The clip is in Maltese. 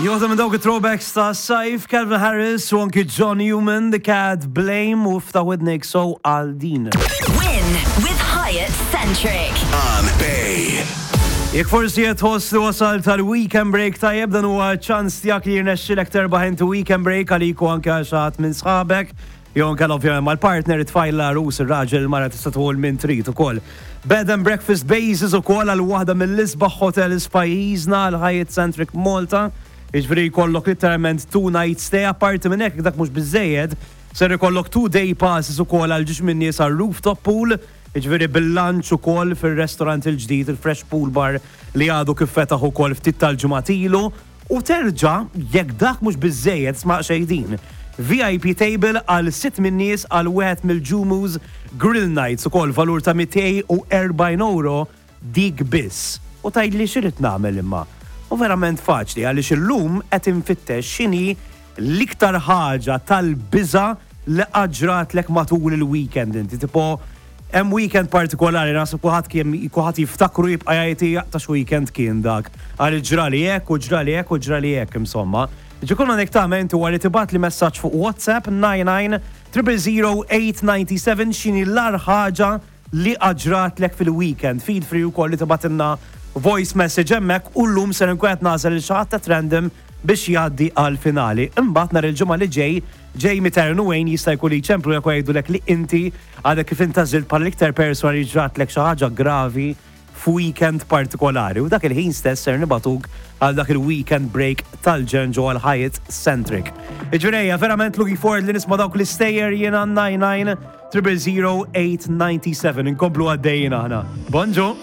Joħda minn dawk it-throwbacks ta' Saif, Calvin Harris u anki John Newman, The Cat Blame u ftaħ widnek so għal din. Win with Hyatt Centric. On Bay. Jekk forsi qed tħoss li wasal tal-weekend break tajjeb dan huwa ċans tiegħek li jirnexxilek terbaħ inti weekend break għalik u anke għal xi ħadd minn sħabek. Jew inkella ovvjament mal-partner, it-tfajla, l-għarus, ir-raġel, il-mara tista' tieħu 'l min trid ukoll. Bed and breakfast basis ukoll għal waħda mill-isbaħ hotels f'pajjiżna, l-Hyatt Centric Malta. Jiġifieri jkollok litteralment two night stay, apparti minn hekk dak mhux biżżejjed, ser ikollok two day passes ukoll għal ġiex min-nies għal rooftop pool, jiġifieri bil-lunch ukoll fir-restaurant il-ġdid, il-Fresh Pool Bar li għadu kif fetaħ ukoll ftit tal-ġimgħat ilu. U terġa', jekk dak mhux biżżejjed, sma' xejn din, VIP table għal sitt min-nies għal wieħed mill-Ġumu's Grill Nights ukoll valur ta' 240 ewro dik biss. U tgħidli x'irrid nagħmel imma? U verament faċli għaliex illum qed infittex x'inhi l-iktar ħaġa tal-biża' li qatt ġratlek matul il-weekend inti. Tipo, hemm weekend partikolari naħseb kulħadd kien kulħadd jiftakru jibqa' jgħid jaqta' x'weekend kien dak. Għal ġrali hekk u ġrali hekk u ġrali hekk insomma. Ġi kull ma għandek tagħmel inti huwa li tibgħatli messaġġ fuq WhatsApp 99 000 897 x'inhi l-agħar ħaġa li qatt ġratlek fil-weekend. Feel free wkoll li tibgħatilna voice message hemmhekk u llum ser inkun qed nagħżel lil xi ħadd at random biex jgħaddi għall-finali. Imbagħad nhar il-Ġimgħa li ġej, Jamie Taryn u Wayne jista' jkun li jċemplulek u jgħidulek li inti għadek kif intgħażilt bħala l-iktar persuna li ġratlek xi ħaġa gravi f'weekend partikolari u dak il-ħin stess ser nibagħtuk għal dak il-weekend break tal-ġenn ġewwa l-Hyatt Centric. Jiġifieri ejja, verament looking forward li nisma' dawk l-istejjer jiena 99 000 897. Inkomplu għaddejjin aħna. Bonġu!